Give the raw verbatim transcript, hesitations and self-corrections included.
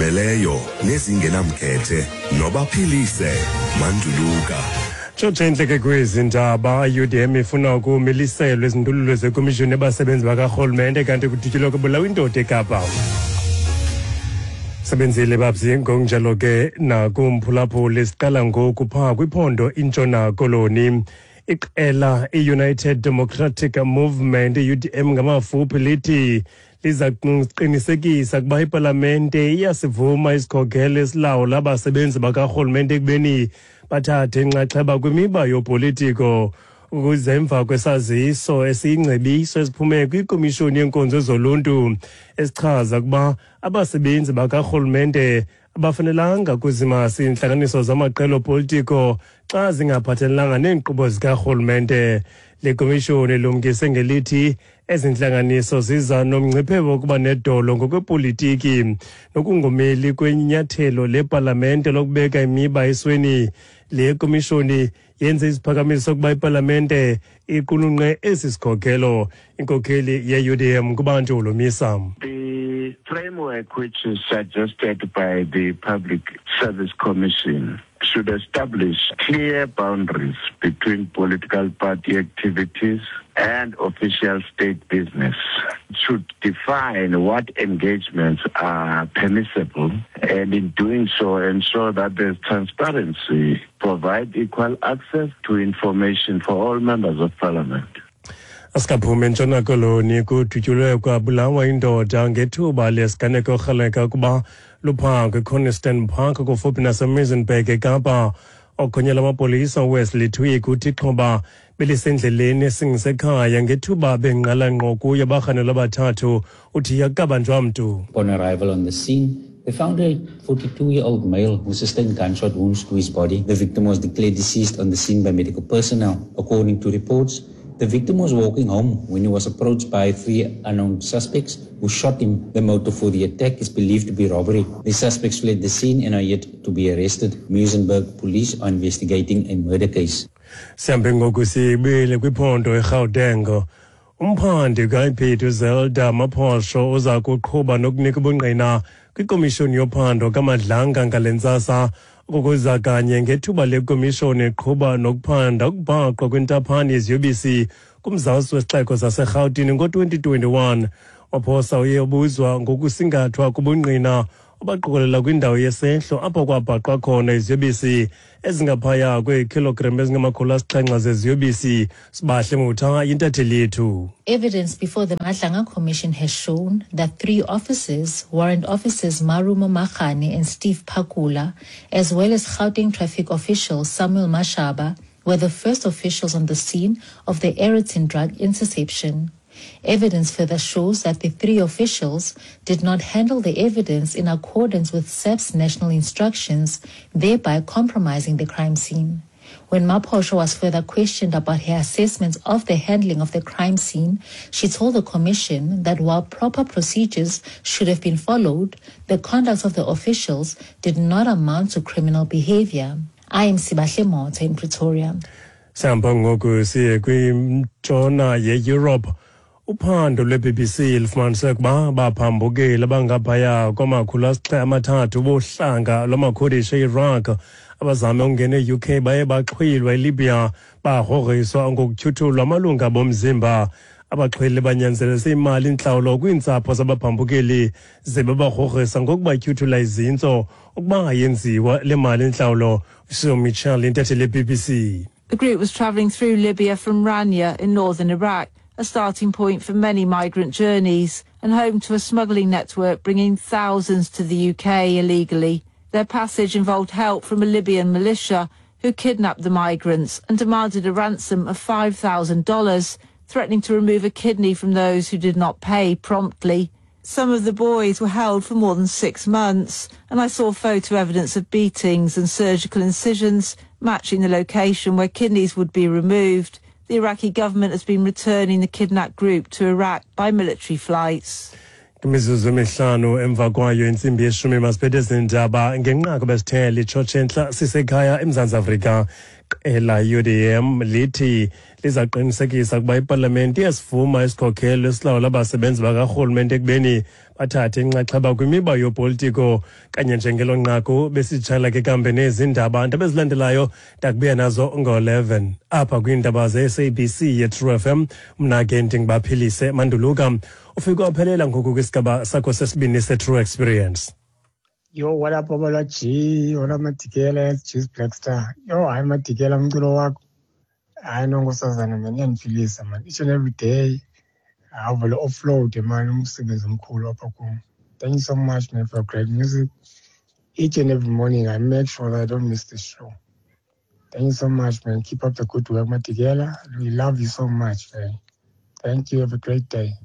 Ezigqibeleleyo nezingenamkhethe nobaphilise Manduluka. Tshotshe intleke kwezi ndaba. I U D M ifuna ukumiliselwa izindululo zekomishoni yabasebenzi bakarhulumente, kanti kudutyulwe kubulawa indoda eKapa. Sebenzile babzi, ngokunjalo ke nakumphulaphuli. Siqala ngoku phaa kwiphondo iNtshona Koloni. Iqela i-United Democratic Movement, i-U D M ngamafuphi, lithi liza kuqinisekisa ukuba ipalamente iyasivuma isikhokelo esilawula abasebenzi bakarhulumente ekubeni bathathe inxaxheba kwimiba yopolitiko, ukuze emva kwesaziso esiyingcebiso esiphume kwikomishoni yenkonzo zoluntu esichaza ukuba abasebenzi bakarhulumente abafanelanga kuzimasa iintlanganiso zamaqela opolitiko xa zingaphathelelanga neenkqubo zikarhulumente. Le komishoni ilumkise ngelithi ezi ntlanganiso ziza nomngcipheko wokuba nedolo ngokwepolitiki nokungomeli kwenyathelo lepalamente lokubeka imiba esweni. Le komishoni yenze isiphakamiso sokuba ipalamente iqulunqe esi sikhokelo. Inkokheli ye-U D M kuBantu Holomisa. The framework which is suggested by the Public Service Commission should establish clear boundaries between political party activities and official state business. It should define what engagements are permissible and, in doing so, ensure that there's transparency, provide equal access to information for all members of parliament. Asikaphumi eNtshona Koloni. Kudutyulwe kwabulawa indoda ngethuba lesiganeko orhaleka ukuba luphango eConiston Park kufuphi naseMuizenberg eKapa. Okhonyela amapolisa uWesley Twigg uthi ixhoba belisendleleni esingisekhaya ngethuba bengqala ngqo kuyo abarhanelwa abathathu. Uthi akukabanjwa mntu. Upon arrival on the scene, they found a forty-two-year-old male who sustained gunshot wounds to his body. The victim was declared deceased on the scene by medical personnel. According to reports, the victim was walking home when he was approached by three unknown suspects who shot him. The motive for the attack is believed to be robbery. The suspects fled the scene and are yet to be arrested. Muizenberg police are investigating a murder case. Sihambe ngoku sibuyele kwiphondo eGauteng. Umphandi ka-I P I D uZelda Maphosho uza kuqhuba nokunika ubungqina kwikomishoni yophando kaMadlanga ngale ntsasa, ukuza kanye ngethuba lekomishoni eqhuba nokuphanda ukubhaqwa kwentaphane yeziyobisi kumzantsi wesixeko saseRhawutini ngo-twenty twenty-one. Maphosa uye ubuzwa ngokusingathwa kubungqina obaqokelela kwindawo yesehlo apho kwabhaqwa khona iziyobisi ezingaphaya kweekhilogram ezingamakhulu asixhenxe zeziyobisi. Sibahle Mutha yintatheli yethu. Evidence before the Madlanga Commission has shown that three officers, Warrant Officers Marumo Makhane and Steve Pakula, as well as Gauteng traffic official Samuel Mashaba, were the first officials on the scene of the Aeroton drug interception. Evidence further shows that the three officials did not handle the evidence in accordance with S A P S national instructions, thereby compromising the crime scene. When Maphosho was further questioned about her assessment of the handling of the crime scene, she told the commission that while proper procedures should have been followed, the conduct of the officials did not amount to criminal behavior. I am Sibahle Motha in Pretoria. Sihamba ngoku siye kwintshona ye-Europe. Uphando lwe-B B C lufumanise ukuba baphambukeli abangaphaya kwamakhulu asixhenxe amathathu bohlanga lwamaKurdish e-Iraq abazame ukungena e-U K baye baxhwilwa eLibya, bagrogriswa ngokutyhuthulwa amalungu bomzimba. Abaxhwili banyanzelise imali intlawulo kwiintsapho zabaphambukeli ze babagrogrisa ngokubatyhuthula izintso ukuba ayenziwa le mali intlawulo. Sue Mitchell, intatheli ye-B B C. The group was travelling through Libya from Rania in northern Iraq, a starting point for many migrant journeys and home to a smuggling network bringing thousands to the U K illegally. Their passage involved help from a Libyan militia who kidnapped the migrants and demanded a ransom of five thousand dollars, threatening to remove a kidney from those who did not pay promptly. Some of the boys were held for more than six months, and I saw photo evidence of beatings and surgical incisions matching the location where kidneys would be removed. The Iraqi government has been returning the kidnapped group to Iraq by military flights. Imizuzu emihlanu emva kwayo intsimbi yeshumi, masiphethe ezindaba ngenqaku besithe litshotshe entla sisekhaya eMzantsi Afrika. Iqela U D M lithi lizaqinisekisa ukuba ipalamente iyasivuma isikhokelo esilawula abasebenzi bakarhulumente ekubeni bathathe inxaxheba kwimiba yopolitiko. Kanye njengelo nqaku besitshala ke kambe nezi ndaba ndaba ezilandelayo ndakubuya nazo ngo-eleven apha kwiindaba ze-S A B C ye-True F M. Mna ke ndinguBaphilise Manduluka. Ufike waphelela ngoku kwisigaba sakho sesibini se-True Experience. Yo, what up, Babalwa G? What up, Madikela? Juice Black Star. Yo, hayi Madikela, umculo wakho. Hayi nonkosazana man, iyandiphilisa man. Each and every day. Awuvele offload man, umsebenzi omkhulu apha kum. Thank you so much, man, for great music. Each and every morning I make sure that I don't miss the show. Thank you so much, man. Keep up the good work, Madikela. We love you so much, man. Thank you. Have a great day.